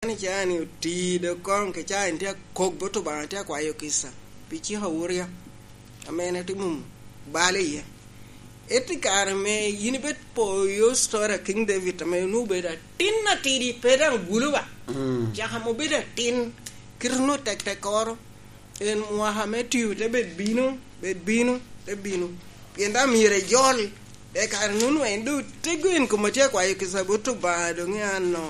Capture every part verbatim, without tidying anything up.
Ni ca ni oti do koŋ ke ca en tye akok bot Obaŋa, tye akwayo kica pi cik awurya ame en atye mum balo iye. Eti kare me yin ibed poyo story a King David ame onwoŋo obedo atin atidi, pe daŋ gulu ba. Mm. Caka ame obedo atin, kite onwoŋo tek tekkoro. En mwaka me tio te bed bino, bed bino, te bino. Pien daŋ myero ejol. De kare-nu nwe en doŋ otego en kome tye akwayo kica bot Obaŋa doŋ i ano.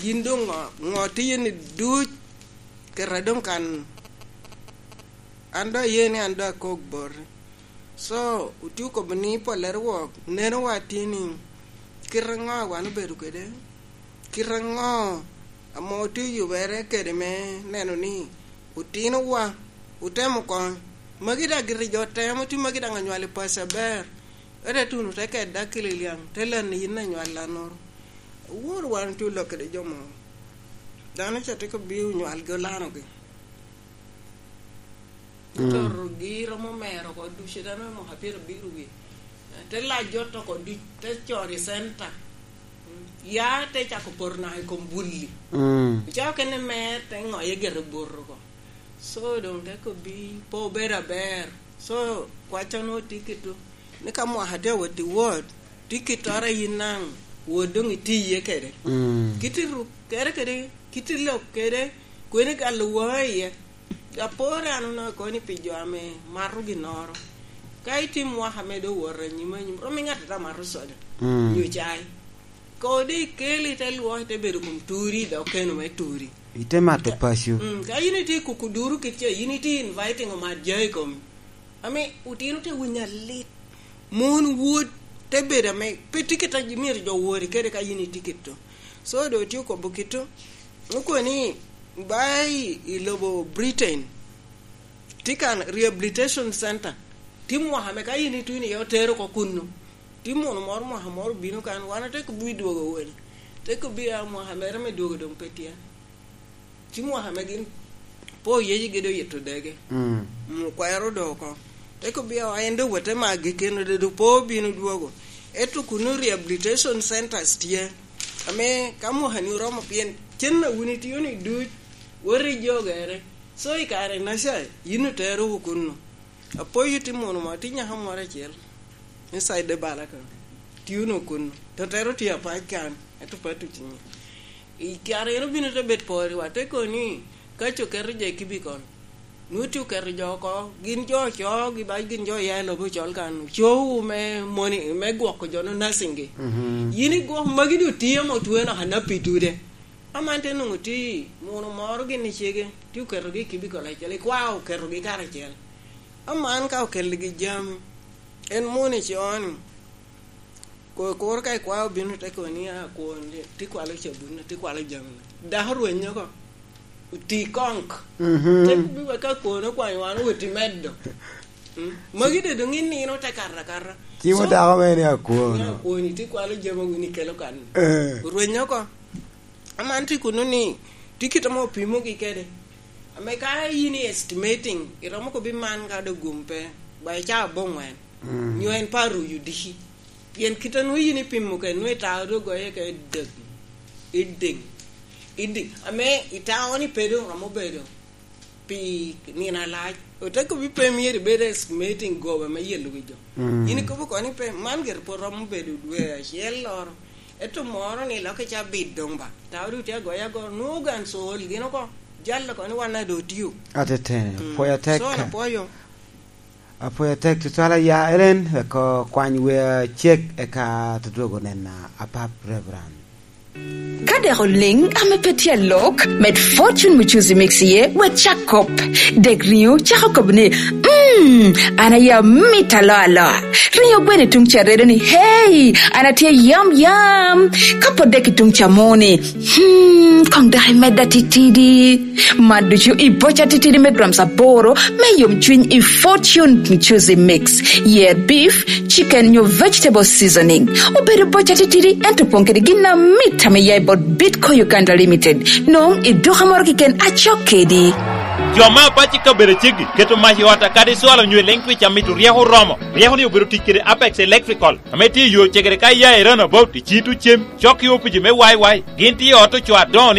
Yin doŋ ŋo, ŋo tye ni duc keta doŋ kan. An doŋ aye ni an doŋ akok boti. So, otye okobo ni pollere wok, neno wa tye ni kite ŋo wan obedo kede, kite ŋo ame otye oyubere kede me neno ni otinowa otemo koŋ. Magi daŋ giti jo temo, tye magi daŋ anywal i paco aber. Ete tuno te keda kili liaŋ, te lani yin anywal lannoro. Awor wan tye olok kede jo mo. Dano ca tye ka bino onywalgi olanogi. Mm. Ototogi romo mero oko ducu, dano me mwaka pyerabiro wie. Te lac jot oko duc, te coro i center. Mm. Ya te cako poto naka i kom bulli. Mm. Ocako kene mer, te ŋoye gire bot oko. So, doŋ te kobbi, pe obedo aber. So, kwacca nwoŋo tye kito. Ni ka mwaka tye awot i wot, tye kittoro a yin naŋ wot doŋ itiye kede. Mm. Kit i ruk kede kede, kit i lok kede, kwene galo wa iye. Apore an onaka kono ni pi jo ame mato ginnoro. Ka itye mwaka ame doŋ wot anyim anyim, rom iŋat ata mato soda. Mm. Nyo cai. Kodi ikeli te lwok, ite bedo kom turi, dok keno me turi. Ite mato paco. Mm, ka yin itye i kuku duru kit ce, yin itye inviting omat ja i komi. Ame otino te winyo alit. Mon wod te bedo ame pe tye kit a myero jo wori kede ka yin itye kito. So, doŋ otye okobo kito. Okobo ni, ba i, i lobo Britain, tye kan rehabilitation center. Tye mwaka ame ka yin itwino iye otero oko kunnu. Tye muno moro mwaka moro obino kan, wan ate kobbi dwogo wele. Te kobbi a mwaka mere me dwogo doŋ pe tye. Tye mwaka ame gin po yecigi doŋ yito dege. Mm. Mm, okwero doŋ oko. Te kobbi a en doŋ wete ma agikeno doŋ po bino dwogo. Ento kuno rehabilitation centers tye. Ame ka mwaka ni oromo pien cen a wun itio ni duc, wot i jogere. So i kare naca, yin otero wu kunnu. Apoyo tye muno mo, tye nyaka moro acel. Inside the bala ka. Tye onwoŋo kunnu. Totero tye apac kan, ento pe atuc i nge. I kare en obino te bet pore wa, te kono ni, ka ce oketo jo i cubicle, nwoŋo tye oketo jo oko, gin jo ocogi, ba gin jo oya i lobo ocol kan, ocowu me moni, me gwoko jo no nursing gi. Mhm. Yin igwok magi doŋ tye ame otweo naka napi tude. Aman te nwoŋo tye muno moro gin i cege, tye oketogi i cubicle acel, ikwao oketogi karacel. Aman ka okeligi jami, en muno i coo-ni, ko-, kuro ka ikwao obino te kobo ni, "Ah, kwon, tye kwalo cabun, tye kwalo jami." Dako rwenyo oko, oti konk. Mhm. Te kobo wek ka kwon okwanyo wan owot i medo. Mm. Magi doŋ doŋ inino te kato akata. Cimo dako mere ni akwon. Ni akwon, tye kwalo jami a wun ikelo kan. Eh. Rwenyo oko. Aman tye kuno ni, tye kit ame opimogi kede. Ame ka yin i estimating, iromo kobi man ka doŋ gum pe, ba i caa aboŋwen. Mm. Nyo en pe aruyo diki. Pien kit a nwoŋo yin ipimo kede, nwoŋo itao doŋ goye kede dek, iding, iding. Ame itao ni pe doŋ romo bedo pi nino alac. Ote kobi pe myero ibed estimating goba me yelo wi jo. Mm. Yin ikobo kono ni pe, man gire pwod romo bedo dwe acel loro. Ento moro ni lok i cabit doŋ ba. Tao doŋ tye agoya ago. Nwoŋo gan col gin oko. Jal oko ni wan ado tio. Atetene. Mm. Pwoyo tek. So, apwoyo. Apwoyo tek tutwal aya Ellen, wek okwany wer cek eka tutwego nena apap Reverend. Ka dek oliŋ ame pe tye alok, med Fortune Muchuzi Mix iye, wek cak kop. Dek riŋo cako kobo ni, "Mm, an aye amit aloa aloa." Riŋo gweno i tuŋ ca redo ni, "Hey, an atye yam yam." Ka pot dek i tuŋ ca mo ni, "Hmm, koŋ dok imedda titidi." Man ducu i boca titidi me grams aboro me yomcwiny i Fortune Muchuzi Mix. Yer beef, chicken nyo vegetable seasoning. Obedo boca titidi, ento opwong kede gin amit ame ya i bot Bitco Uganda Limited. Nwoŋo i duka moro keken acok kedi. Jo me apac i kabedo aceggi keto mac i ot akadi cwalo onyo i Lentwich amito ryeko oromo. Ryeko-ni obedo tic kede Apex Electrical, ame tye i yo cegere ka iya i Runabout i Cito Cem, cok i opici me Y Y. Gin tye i ot ocoo adoŋo-ni